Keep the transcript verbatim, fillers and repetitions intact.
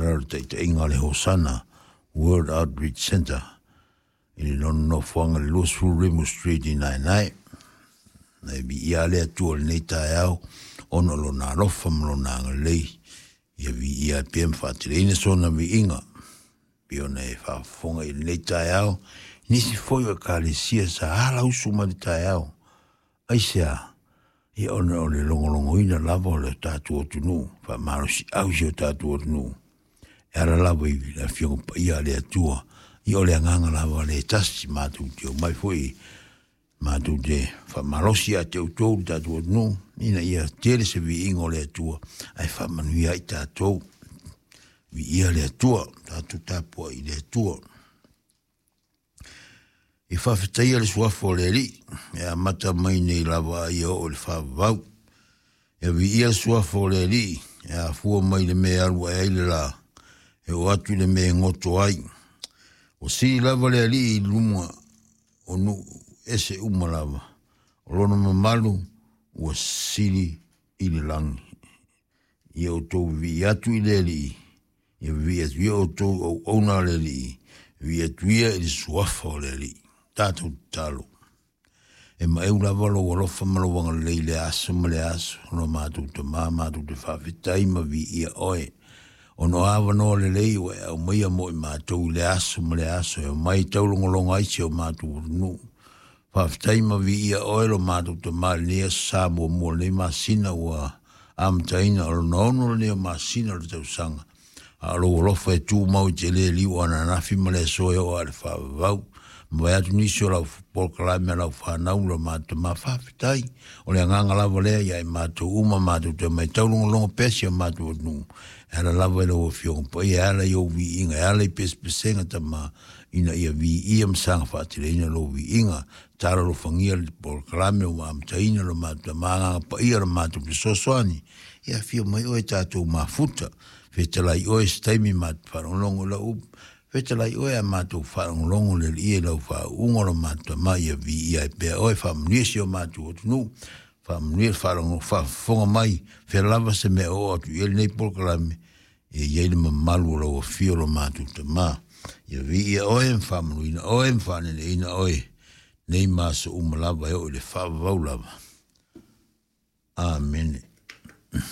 lalo o le taitaiga a le Hosana World Outreach Centre i le lona nofoaga i le luasefulu Rimu Street i Naenae. Na e viia le Atua i lenei taeao ona o lona alofa ma lona agalelei, ia viia ai pea ma faateleina sona viiga. Pei ona e faafofoga i lenei taeao, nisi foi o ekalesia sa alausu mai le taeao. Aisea? Ia ona o le logologoina lava o le tatou atunuu, faamalosiau si o tatou atunuu e ala lava i le Afioga Paia a le Atua. Ia o le agaga lava le tasi matou te omai foi matou te faamalosi ia te outou le tatou atunuu, ina ia tele se viiga o le Atua ae faamanuia ai tatou. Viia le Atua, tatou tapuai i le Atua. E faafetaia le suafa o le Alii, e amata mai nei lava ia oo i le faavavau. E viia le suafa o le Alii, e afua mai le mea e alu ae ai le la, e oo atu i le mea e goto ai. Ua sili lava le Alii i luma o nuu ese uma lava, o lona mamalu ua sili i le lagi. Ia outou vivii atu i le Alii, ia vivii atu ia outou auauna a le Alii, vivii atu ia i le suafa o le Alii. Tatou tatalo. E maeu lava lou alofa ma lou agalelei i le aso ma le aso, lo matou Tamā matou te faafetai ma viia oe. Ona o avanoa lelei ua e aumaia mo i matou i le aso ma le aso, e omai taulogologo ai si o matou atunuu. Faafetai ma viia oe lo matou Tamā i lenei aso sa muamua o lenei masina ua amataina, o lona ono lenei o masina o le tausaga. A o lou alofa e tumau i te le liu o ananafi ma le aso e oo aa i le faavavau. Ma vae atu nisi o lau polokalame a lau fanau lo matou Tamā, faafetai. O le agaga lava lea ia i matou uma matou te omai taulogologo pea si o matou atunuu. E ala lava i lau Afioga Paia, e ala i ou viiga, e ala i pesepesega Tamā, ina ia viia ma saga faateleina lou viiga. Talo alofagia le polokalame ua amataina lo matou Tamā, agaga paia lo matou fesoasoani. Ia afio mai oe tatou mafuta, fetalai oe se taimi matou faalogologo i lau upu, fetalai oe a matou faalogologo le Alii i lau faauuga lo matou Tamā, ia viia ai pea oe, faamanuia si o matou atunuu, faamanuia le faalogo faafofoga mai, fea lava se mea oo atu i ai lenei polokalame, ia i ai le mamalu o lau afio lo matou Tamā. Ia viia oe ma faamanuina oe ma faaneleina oe, nei ma aso uma lava e oo i le faavavau lava. Amene.